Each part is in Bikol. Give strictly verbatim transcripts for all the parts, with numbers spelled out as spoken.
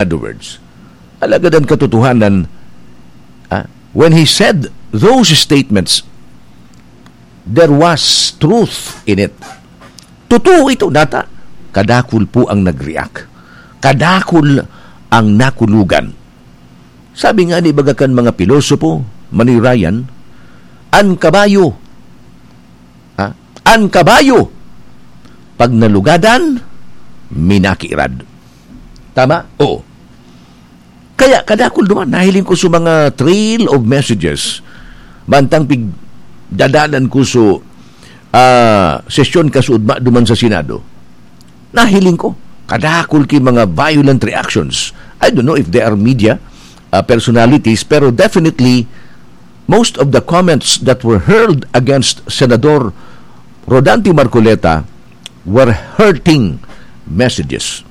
other words. Alagad ang katotohanan, ah, when he said those statements, there was truth in it. Totoo ito, nata. Kadakul po ang nag-react. Kadakul ang nakulugan. Sabi nga ni baga kan mga pilosopo, Manoy Ryan, "An kabayo, ha? An kabayo, pag nalugadan, minakirad." Tama? Oo. Kaya kadakul duman, nahiling ko sa mga trail of messages, mantang pig-, dadalan ko sa, ah, sesyon kasuodma duman sa Senado. Nahiling ko, kadakul ki mga violent reactions. I don't know if they are media, ah, personalities, pero definitely, most of the comments that were hurled against Senador Rodante Marcoleta were hurting messages.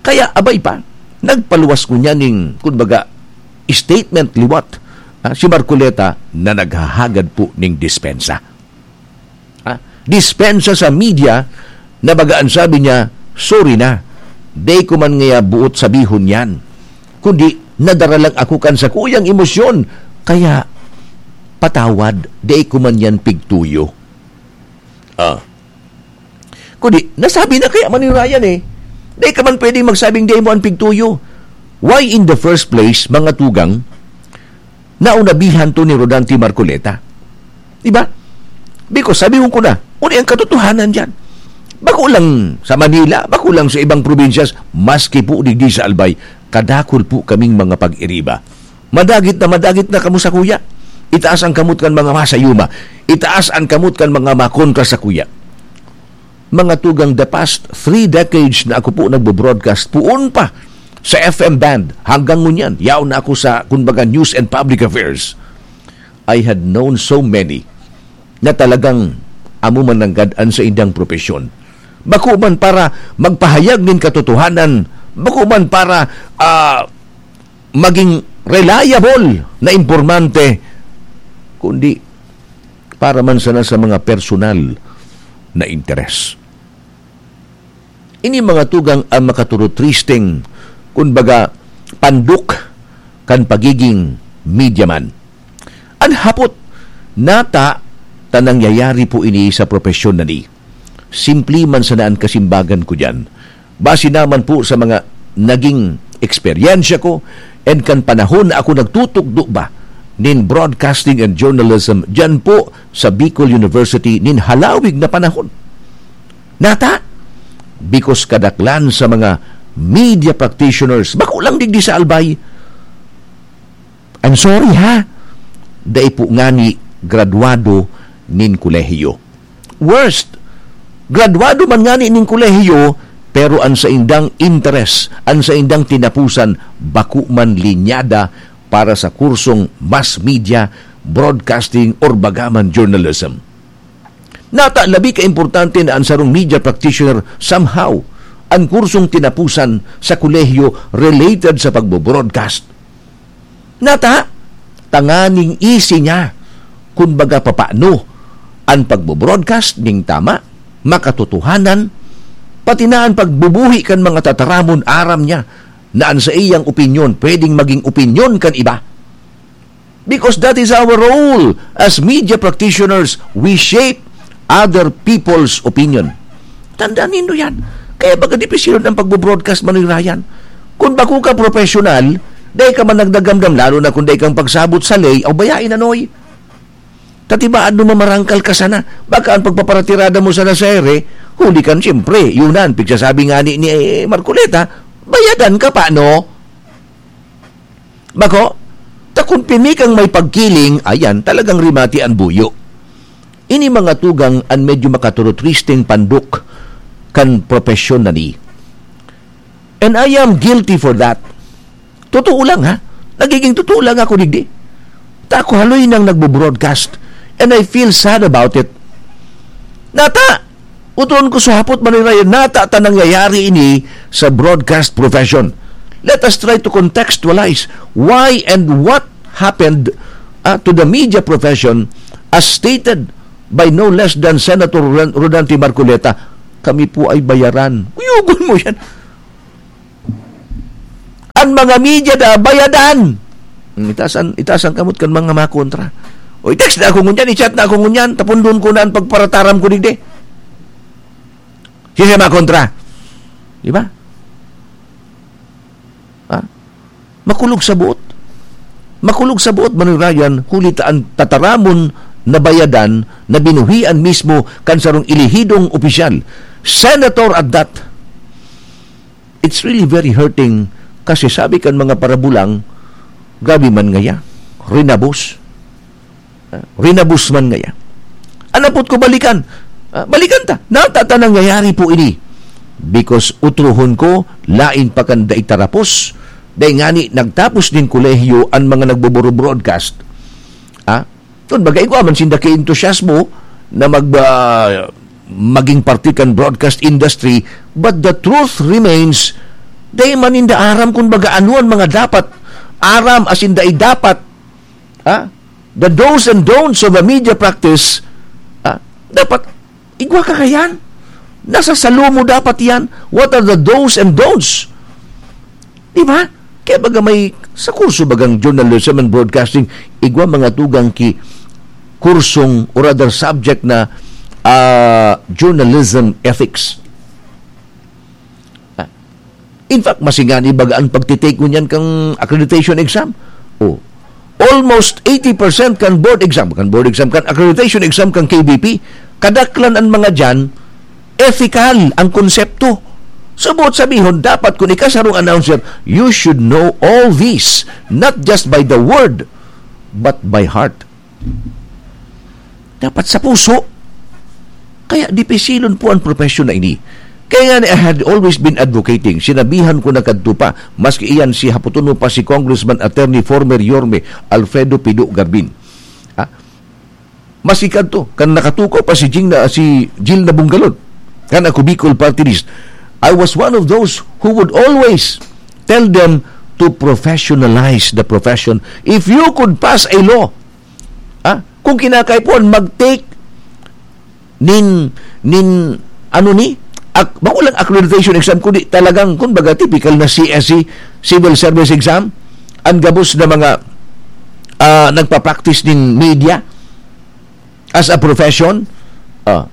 Kaya abay pa, nagpaluwas ko niya ning, kumbaga, statement liwat, ah, si Marcoleta na naghahagad po ning dispensa. Ah, dispensa sa media na baga an sabi niya, "Sorry na, dai ko man ngaya buot sabihon yan. Kundi nadara lang ako kan sakuyang emosyon, kaya patawad, dai ko man yan pigtuyo." Ah. Kundi, nasabi na kaya man ni Ryan eh. Dai ka man pwedeng magsabing dai mo an pigtuyo. Why in the first place, mga tugang, naunabihan to ni Rodante Marcoleta? Di ba? Because sabi ko na, ano ang katotohanan dyan? Bako lang sa Manila, bako lang sa ibang provinces, maski po digdi sa Albay, kadakul po kaming mga pag-iriba. Madagit na madagit na kamo sakuya. Itaas ang kamot kan mga masayuma. Itaas ang kamot kan mga makontra sakuya. Mga tugang, the past three decades na ako po nagbo-broadcast, poon pa sa F M band, hanggang ngunyan, yaon na ako sa, kumbaga, news and public affairs. I had known so many na talagang amo man nanggad an saindang propesyon. Bako man para magpahayag nin katotohanan, bako man para, ah, maging reliable na impormante, kundi para man sana sa mga personal na interes. Ini mga tugang ang makaturutristeng, kumbaga, pandok kan pagiging media man. An hapot, nata ta nangyayari po ini sa propesyon na ni. Simple man sana an kasimbagan ko diyan. Base naman po sa mga naging eksperyensya ko and kan panahon na ako nagtutukdo ba nin broadcasting and journalism diyan po sa Bicol University nin halawig na panahon. Nata, because kadaklan sa mga media practitioners, bako lang digdi sa Albay, I'm sorry ha, dai po ngani graduado nin kolehiyo. Worst, graduado man ngani nin kolehiyo, pero an saindang interes, an saindang tinapusan, bako man linyada para sa kursong mass media, broadcasting, or bagaman journalism. Nata, labi ka importante na an sarong media practitioner somehow an kursong tinapusan sa kolehiyo related sa pagbo-broadcast. Nata, tanganing easy niya, kun baga, papano an pagbo-broadcast ning tama, makatotohanan, pati na an pagbubuhi kan mga tataramon, aram niya na an saiyang opinyon pwedeng maging opinyon kan iba. Because that is our role as media practitioners. We shape other people's opinion. Tandaan nindo yan. Kaya baga dipisil ang pagbo-broadcast, Manoy Ryan. Kung bako ka professional, dai ka man nagdagamdam, lalo na kung dai kang pagsabot sa ley, o bayain na, Noy. Tatibaad mo mamarangkal ka sana. Baka ang pagpaparatirada mo sana sa ere, huli kan, siyempre, yun na, ang pigsasabi nga ni, ni Marcoleta, bayadan ka pa, no? Bako, ta kun pirmi kang may pagkiling, ayan, talagang rimati an buyo. Ini mga tugang an medyo makaturutristeng pandok kan propesyon na ni. And I am guilty for that. Totoo lang, ha? Nagiging totoo lang ako digdi. Ta ako haloy nang nagbo-broadcast, and I feel sad about it. Nata, utron ko sa hapot, Manoy Ryan, nata ta nangyayari ini sa broadcast profession. Let us try to contextualize why and what happened, ah, to the media profession as stated by no less than Senator Ron-, Rodante Marcoleta. Kami po ay bayaran. Kuyugon mo yan. Ang mga media na bayadan. Hmm, itaas an, itaas an kamot kan mga makontra. O, i-text na ako ngunyan, i-chat na ako ngunyan, tapundon ko na ang pagparataram ko digdi. Siya makontra. Di ba? Ha? Makulog sa buot. Makulog sa buot, Manoy Ryan, huli ta an tataramon na bayadan na binuhian mismo kan sarong elehidong opisyal. Senator at that. It's really very hurting kasi sabi kan mga parabulang, "Grabe man ngaya, rinabos." Ah, rinabos man ngaya. An apot ko balikan. Ah, balikan ta. Nata ta nangyayari po ini. Because utrohon ko, lain pa kan dai tarapos. Dai ngani nagtapos nin kolehiyo an mga nagboboro-broadcast. Ah, kun baga, igwa man sinda ki entusiasmo na mag, ah, maging parte kan broadcast industry, but the truth remains, dai man ninda aram kun baga ano an mga dapat aram asin dai dapat. Ha? The do's and don'ts of a media practice, ha? Dapat igwa ka kayan. Nasa salo mo dapat yan. What are the do's and don'ts? Di ba? Kaya baga may, sa kurso bagang journalism and broadcasting, igwa mga tugang ki kursong or other subject na, ah, journalism ethics. Ah, in fact, mas ingani baga ang pagtitake ngunyan kang accreditation exam. Oh, almost eighty percent kan board exam, kan board exam, kan accreditation exam kan K B P, kadaklan an mga diyan, ethical ang konsepto. So, buot sabihon, dapat kun ika sarong announcer, you should know all this, not just by the word, but by heart. Dapat sa puso. Kaya dipisilon po ang profesyon na ini. Kaya nga, I had always been advocating, sinabihan ko na kadto pa, maski iyan si hapoton mo pa si Congressman Attorney former Yorme Alfredo Pido Garbin. Ha? Maski kadto, kan nakatukaw pa si Jing na, si Jill Nabungalon, kan ako Bicol Party List. I was one of those who would always tell them to professionalize the profession. If you could pass a law, ha? Kung kinakaipuhan, mag-take nin, nin, ano ni? Ak-, bako lang accreditation exam, kundi talagang, kumbaga, typical na C S E, civil service exam. Ang gabos na mga, ah, nagpa-practice nin media as a profession. Ah,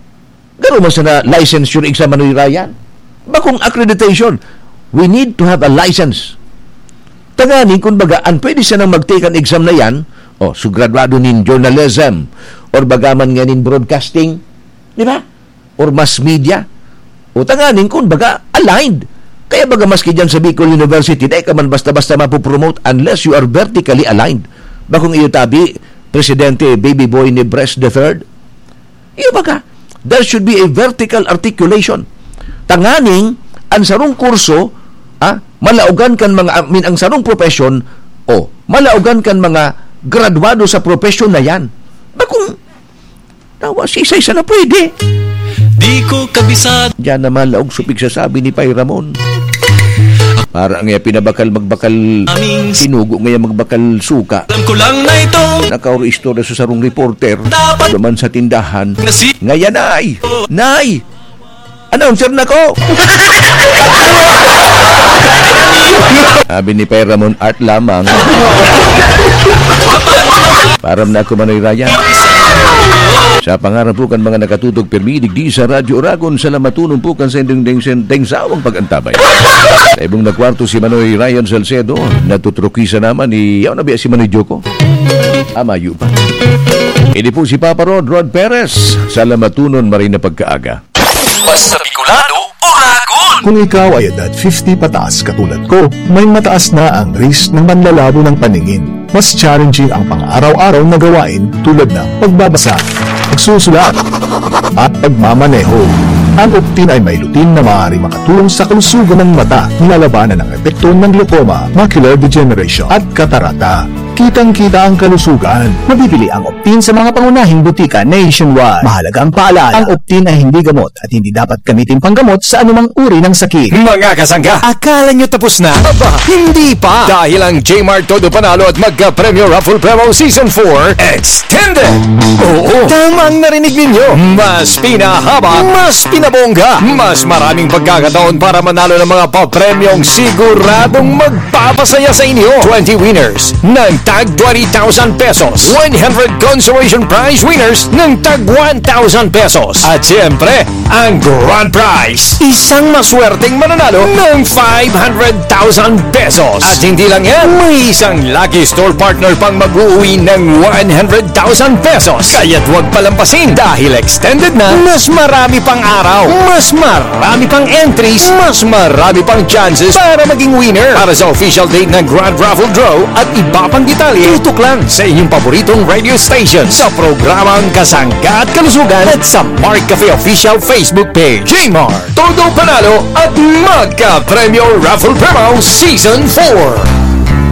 garo man sana licensure exam, Manoy Ryan. Bakong accreditation. We need to have a license. Tanganing, kun baga, an pwede sanang mag-take an exam na yan, o, so graduado nin journalism, or baga man nga nin broadcasting, di ba? Or mass media. O tanganing, kun baga, aligned. Kaya baga maski dyan sa Bicol University, dai ka man basta-basta mapopromote unless you are vertically aligned. Bakong iyo tabi, Presidente Baby Boy Nebres the third? Iyo baga, there should be a vertical articulation. Tanganing, ang sarong kurso, ah, malaogan kan mga, I mean, ang sarong profession, o, malaogan kan mga graduado sa profesyon na yan. Bakong, tawa, sisay sana pwede. Di ko kabisado. Diyan naman laog supig sa sabi ni Pay Ramon. Para ang iya pinabakal magbakal Aming s- sinugo, ngaya magbakal suka. Alam ko lang na ito. Nakauro istorya sa sarong reporter. Dapat Duman sa tindahan. Na si- Ngaya, "Nay! Nay! Announcer na ko!" Sabi ni Pay Ramon, "Art lamang." Param na ako, Manoy Ryan. Sa pangaran po kan mga nakatutok pirmi digdi sa Radyo Oragon, salamatonon po kan sending ding sending sawang pag-antabay. Sa ibong na kwarto si Manoy Ryan Salcedo, natutrukisa naman ni, yaw na biya si Manoy Joko. Amayo pa. Ini po si Papa Rod, Rod Perez. Salamatonon, maray na pagkaaga. Basta Bicolano, Oragon! Kung ikaw ay edad fifty pataas katulad ko, may mataas na ang risk ng manlalabo ng paningin. Mas challenging ang pang-araw-araw na gawain tulad ng pagbabasa, pagsusulat, at pagmamaneho. Ang Optin ay may lutein na maaaring makatulong sa kalusugan ng mata, nilalabanan ang epekto ng glaucoma, macular degeneration, at katarata. Kitang-kita ang kalusugan. Mabibili ang Optin sa mga pangunahing butika nationwide. Mahalagang paalala, ang Optin ay hindi gamot at hindi dapat gamitin panggamot sa anumang uri ng sakit. Mga kasangga, akala nyo tapos na? Aba, hindi pa! Dahil ang J-Mart Todo Panalo at Magka-Premyo Raffle Promo Season four Extended! Oo, tama ang narinig ninyo. Mas pinahaba, mas pinabongga, mas maraming pagkakataon para manalo ng mga papremyong siguradong magpapasaya sa inyo. Twenty winners ng tag twenty thousand pesos, one hundred consolation prize winners ng tag one thousand pesos. At siyempre, ang grand prize, isang maswerteng mananalo ng five hundred thousand pesos. At hindi lang yan, may isang lucky store partner pang mag-uwi ng one hundred thousand pesos. Kaya't huwag palampasin dahil extended na, mas marami pang araw, mas marami pang entries, mas marami pang chances para maging winner. Para sa official date ng Grand Raffle Draw at iba pang detalye, tutok lang sa inyong paboritong radio station sa programang Kasangga at Kalusugan at sa Mark Cafe Official Facebook Page. J-Mart, Todo Panalo at Magka-Premyo Raffle Promo Season four.